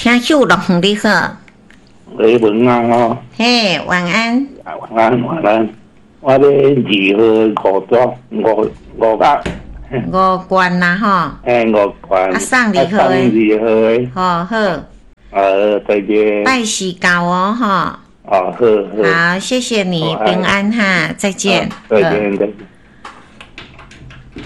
聽友樂園你好。喂，晚安哦。嘿，晚安。晚安，晚安。我咧二號五桌五五百。五罐啦吼。欸，五罐。啊，送二號的。送二號的。好好。再見。拜四到哦，吼。哦，好好。好，謝謝你，平安哈，再見。再見，再見。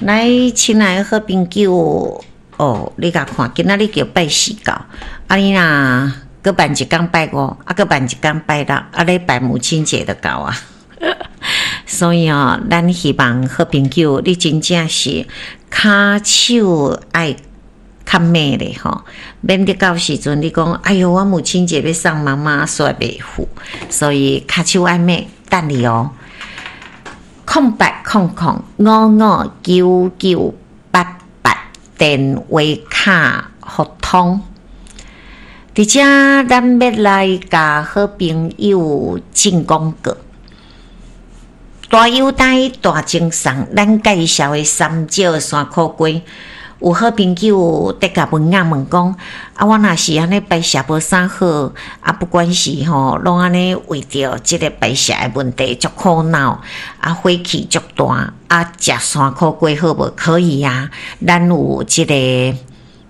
來，親愛的好朋友，哦，你共看，今仔日叫拜四到，啊你若閣辦一工拜五，啊閣辦一工拜六，啊禮拜母親節就到啊。所以哦，咱希望好朋友，你真正是跤手愛較猛咧吼，免得到時陣你講，哎喲，我母親節欲送媽媽，煞袂赴，所以跤手愛猛，等你哦。0800559988電話卡互通。佇遮，咱欲來共好朋友進廣告。大優待大贈送，咱介紹的三招山苦瓜，有好朋友佇共文仔問講：啊，我若是按呢排泄無啥好，啊，不管是吼，攏按呢為著這个排泄的問題足苦惱，啊，火氣足大，啊，食山苦瓜好無？可以啊，咱有這个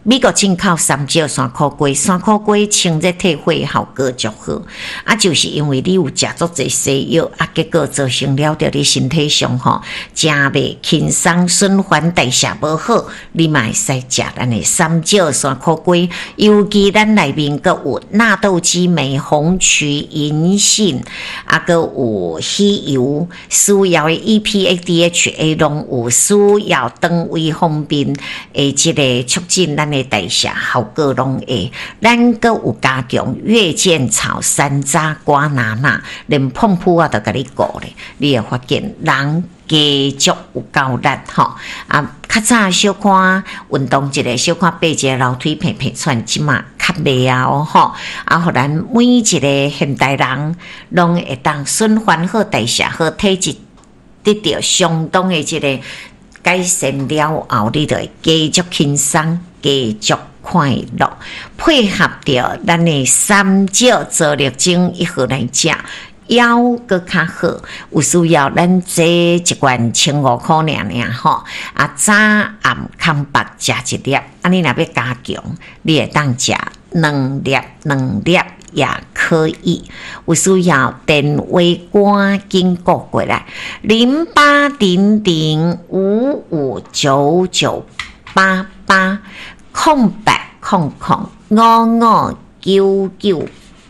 美國進口三招山苦瓜，山苦瓜清熱退火效果足好。啊，就是因為你有食足濟西藥，啊，結果造成了著你身體上吼，誠袂輕鬆，循環代謝無好，你嘛會使食咱的三招山苦瓜。尤其咱內面閣有納豆激酶、紅曲、銀杏，啊，閣有魚油，需要的 EPA、DHA 攏有，需要腸胃方面的這个促進咱的代謝效果攏會。咱閣有加強月見草、山楂、瓜拿納，連膨噗我都共你顧咧，你會發現人加足有夠力吼。啊，較早小可運動一下，小可爬一个樓梯，鼻鼻喘，這馬較袂啊哦吼。啊，予咱每一个現代人攏會當循環好、代謝好、體質得著相當的這个改善了後，你就會加足輕鬆，加足快樂。配合著咱的三招做力精一號來食，腰閣較好。有需要咱這一罐千五箍爾爾吼，啊早暗空腹食一粒，啊你若欲加強，你會當食兩粒兩粒也可以。有需要電話趕緊撥過來，08005599880800559988，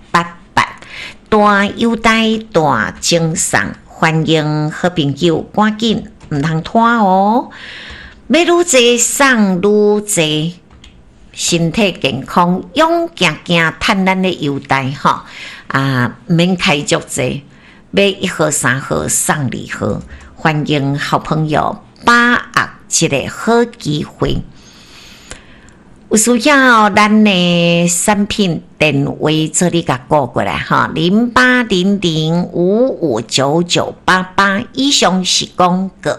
大優待大贈送，歡迎好朋友趕緊，毋通拖哦！欲愈濟送愈濟，身體健康，勇行行，趁咱的優待吼啊，毋免開足濟，買一號三號送二號，歡迎好朋友把握這个好機會。有需要咱的產品電話做你共撥過來哈，0800559988，以上是廣告。